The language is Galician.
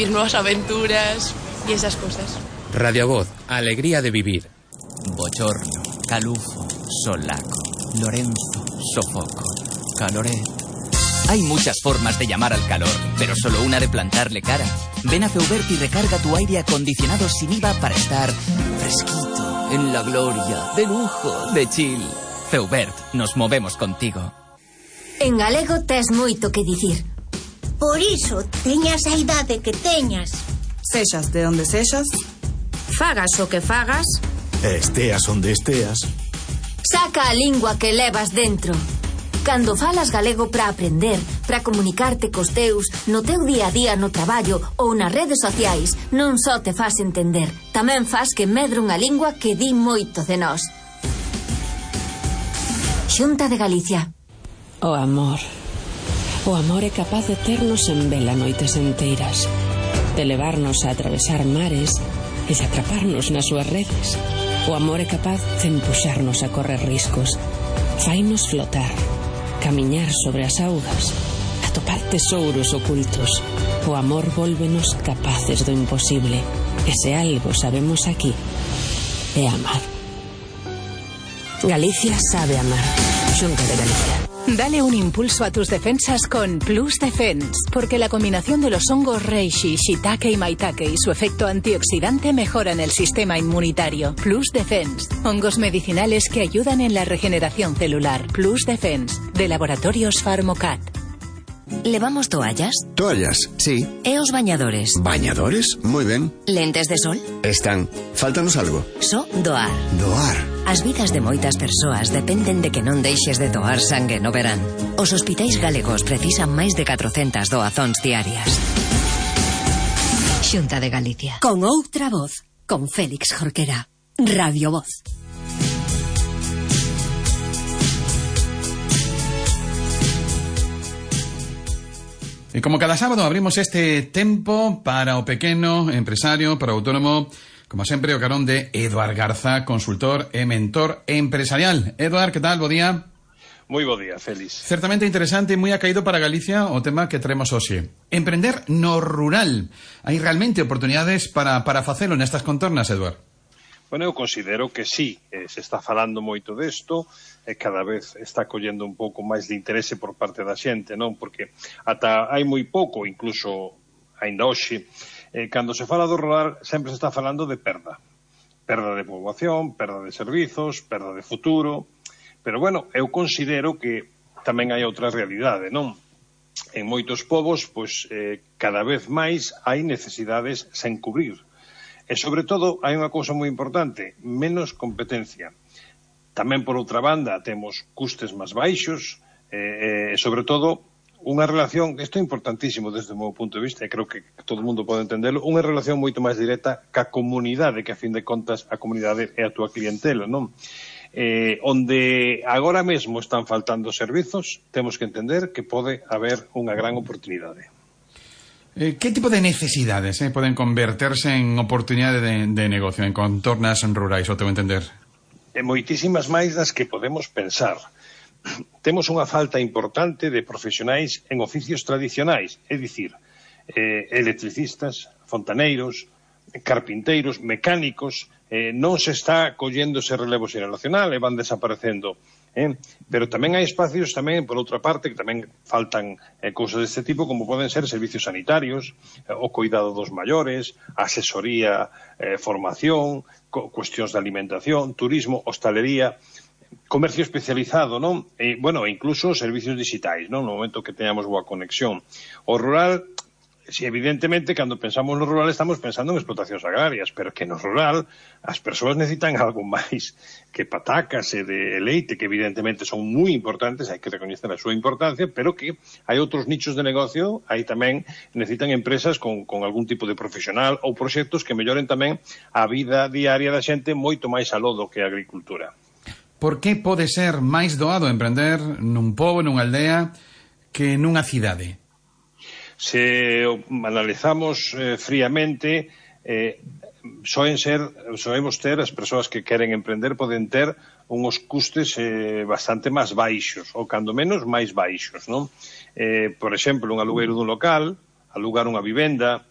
vivir nuevas aventuras y esas cosas. Radio Voz, alegría de vivir. Bochorno, calufo, solaco, Lorenzo, sofoco, caloré. Hay muchas formas de llamar al calor, pero solo una de plantarle cara. Ven a Feubert y recarga tu aire acondicionado sin IVA para estar fresquito, en la gloria, de lujo, de chill. Feubert, nos movemos contigo. En galego tes moito que dicir. Por iso, teñas a idade que teñas. Sexas de onde sexas, Fagas o que fagas, esteas onde esteas. saca a lingua que levas dentro. Cando falas galego para aprender, para comunicarte cos teus, no teu día a día no traballo ou nas redes sociais, non só te fas entender, tamén fas que medre unha lingua que di moito de nós. Xunta de Galicia. O amor. O amor é capaz de ternos en vela noites enteiras, de levarnos a atravesar mares e de atraparnos nas súas redes. O amor é capaz de empuxarnos a correr riscos, fainos flotar, camiñar sobre as augas, atopar tesouros ocultos. O amor vólvenos capaces do imposible. E se algo sabemos aquí, é amar. Galicia sabe amar. Xunta de Galicia. Dale un impulso a tus defensas con Plus Defense, porque la combinación de los hongos reishi, shiitake y maitake y su efecto antioxidante mejoran el sistema inmunitario. Plus Defense, hongos medicinales que ayudan en la regeneración celular. Plus Defense, de Laboratorios Pharmocat. ¿Levamos toallas? Toallas, sí. E os bañadores? ¿Bañadores? Muy ben. Lentes de sol? Están. Fáltanos algo. So doar. Doar. As vidas de moitas persoas dependen de que non deixes de doar sangue no verán. Os hospitais galegos precisan máis de 400 doazóns diarias. Xunta de Galicia. Con outra voz, con Félix Jorquera. Radio Voz. E como cada sábado abrimos este tempo para o pequeno empresario, para o autónomo, como sempre o carón de Eduard Garza, consultor e mentor empresarial. Eduard, que tal? Bo día. Moi bo día, Félix. Certamente interesante e moi acaído para Galicia o tema que traemos hoxe. Emprender no rural. Hai realmente oportunidades para facelo nestas contornas, Eduard? Bueno, eu considero que sí, se está falando moito desto, e cada vez está collendo un pouco máis de interese por parte da xente, non? Porque ata hai moi pouco, incluso aínda hoxe, cando se fala do rural sempre se está falando de perda. Perda de poboación, perda de servizos, perda de futuro, pero bueno, eu considero que tamén hai outra realidade, non? En moitos povos, pois, cada vez máis hai necesidades sen cubrir. E, sobre todo, hai unha cousa moi importante, menos competencia. Tamén, por outra banda, temos custes máis baixos e, sobre todo, unha relación, isto é importantísimo desde o meu punto de vista, e creo que todo o mundo pode entenderlo, unha relación moito máis directa ca comunidade, que a fin de contas a comunidade é a túa clientela, non? Onde agora mesmo están faltando servizos, temos que entender que pode haber unha gran oportunidade. Que tipo de necesidades poden converterse en oportunidade de negocio en contornas rurais, o teu entender? Moitísimas máis das que podemos pensar. Temos unha falta importante de profesionais en oficios tradicionais, é dicir, electricistas, fontaneiros, carpinteiros, mecánicos, non se está collendo ese relevo xeracional e van desaparecendo. Pero tamén hai espacios, tamén, por outra parte, que tamén faltan cousas deste tipo, como poden ser servicios sanitarios, o cuidado dos maiores, asesoría, formación, cuestións de alimentación, turismo, hostalería, comercio especializado, non? Bueno, incluso servicios digitais, non? No momento que teñamos boa conexión. O rural, si evidentemente, cando pensamos no rural estamos pensando en explotacións agrarias, pero que no rural as persoas necesitan algo máis que patacas e de leite, que evidentemente son moi importantes, hai que recoñecer a súa importancia, pero que hai outros nichos de negocio, aí tamén necesitan empresas con algún tipo de profesional ou proxectos que melloren tamén a vida diaria da xente moito máis aló do que a agricultura. Por que pode ser máis doado emprender nun pobo, nunha aldea, que nunha cidade? Se analizamos fríamente, soemos ter, as persoas que queren emprender poden ter uns custes bastante máis baixos, ou cando menos máis baixos, non? Por exemplo, un alugueiro dun local, alugar unha vivenda,